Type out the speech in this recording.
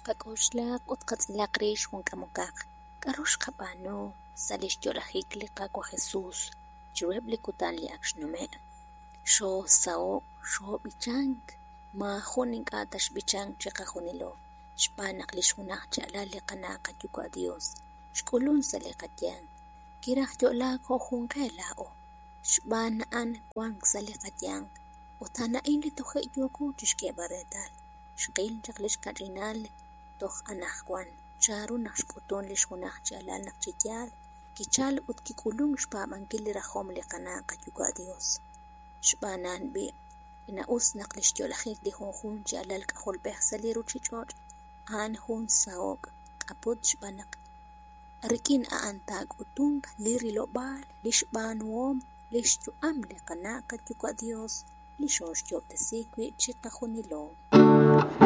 Qak'oxlaq ut qatz'ilaq rix jun k'amokaq k'aru xqab'aanu sa' lix yo'lajik li Qaawa' Jesus chiruheb' li kutan li ak xnume'. Xoosaho', xoob'ichank, maajun ink'a' ta xb'ichank chiqajunilo, xb'aan naq lix junaj chi alal li qana' qayuwa' Dios xk'ulun sa' li qayanq, kiraj yo'laak jo' jun qe laa'o, xb'aan a'an wank sa' li qayanq, ut a'an a'in li toje' yooko chixk'eeb'al reetal. Xqil chaq lix kach'inal toj anajwan chanru naq xk'utun lix junaj chi alal naq chi yaal kichal ut kik'ulunk xpaab'ankil li rajom li qana' qayuwa' Dios. Xb'aan a'an b'i', ch'ina-us naq lix yo'lajik li junjunq chi alal k'ajolb'ej sa' li ruchich'och' a'an jun saho'k k'aput xb'aan naq rik'in a'an taak'utunq li rilob'aal, lix b'aanuhom, lix yu'am li qana' qayuwa' Dios li xooxyo'ob'tesi wi' chiqajunilo.